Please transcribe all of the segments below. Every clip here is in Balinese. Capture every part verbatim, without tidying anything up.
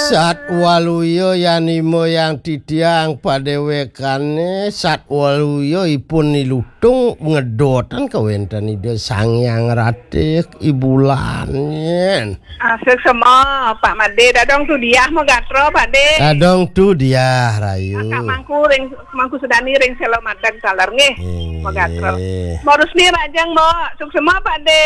Satwaluya yanima yang titiang padéwékané, satwaluya ipun nilutung ngedotan kawéntenan Ida Sang Hyang Ratih i bulan nyén. Ah, suksma, Pak Madé. Dadong tu diah magatra, Pak Dé. Dadong tu diah, Rayu. Kakak Mangku ring, Mangku Sudani ring Sela Madeg taler nggih. Inggih. Magatra. Mbok Rusni Rajang, Mbok. Suksma, Pak Dé.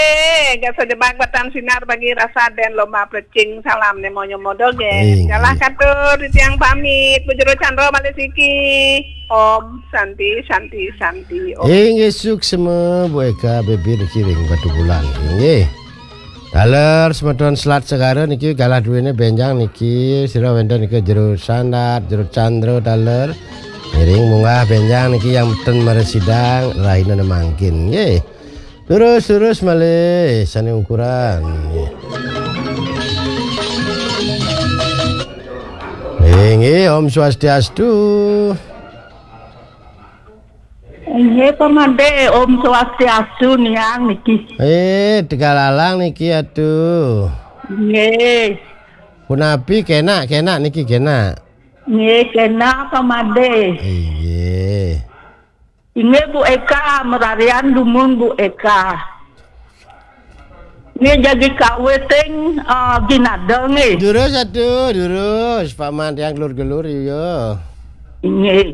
Gasa jebak batan sinar bagi rasa den lomba plecing salam né monyo modogé. Inggih. Galah katur titiang pamit. Bu Jero Chandra malih siki. Om Santi, Santi, Santi, Om. Inggih suksma, Bu Eka, bibir niki ring Batubulan. Inggih. Taler semeton selat segara niki galah duwéné bénjang niki, sira wénten nika Jero Sandat, Jero Chandra taler. Ngiring munggah bénjang niki yang ten maresidang, rahina mangkin. Nggih. Terus, terus malih sané ukuran. Nggih. Inggih, Om Swastiastu. Inggih, Pak Madé, Om Swastiastu niang niki. Eh, Tegal Alang niki atuh. Nggih. Punapi, kénak, kénak niki kénak. Nggih, kénak, Pak Madé. Inggih. Inggih, Bu Eka, mararian dumun Bu Eka. Nggih, jagi kawitin, eh, ginada nggih. Durus atuh, durus. Paman tiang gelur-gelur, iya. Inggih.